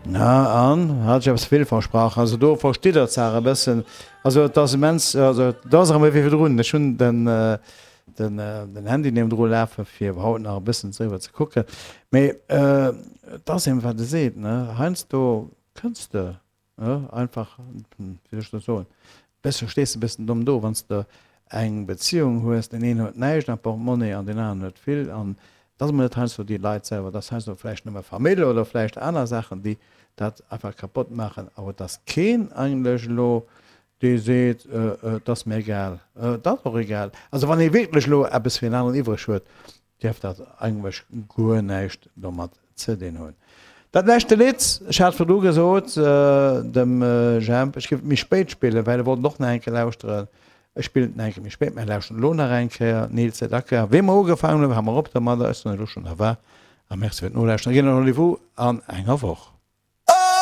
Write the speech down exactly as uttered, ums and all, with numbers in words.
Na an hat ech eppes vill versprach. Also do verstitt der d'Saach e bëssen. Also et ass immens, also et ass erëm ewéi virdrun. Ech hunn den, den, den Handy niewendru lafe fir iwwerhaupt nach e bëssen driwwer ze kucken. Mee et ass eben wat e seet, ne, heiansdo kënns de einfach, wéi soll ech dat soen, bësse stees de e bëssen domm do, wann s de eng Beziehung hues, deen een huet näischt am Portemonnaie an deen aneren huet vill an et ass emol net heiansdo déi Leit selwer, et ass heiansdo vläicht nëmme Famill oder vläicht aner Saachen, déi dat einfach kapott maachen. Awer et ass keen eigentlech elo, dee seet, et ass mir egal. Et ass och egal. Also wann ee wierklech elo eppes fir en aneren iwwreg huet, dierf dat eigentlech guer näischt domat ze dinn hunn. Dat leschte Lidd, ech hat virdru gesot dem Jemp, ech géif et méi spéit spillen, well e wollt et och nach eng Kéier lauschteren. Ech spillen et nach eng Kéier méi spéit, mä lauschteren elo nach eng Kéier Neil Sedaka. Wéi mer ugefaangen hunn, hale mer op domadder. Ech soen elo schonn Au revoir a Merci fir d'Nolauschteren. Ginn e Rendez-vous an enger Woch.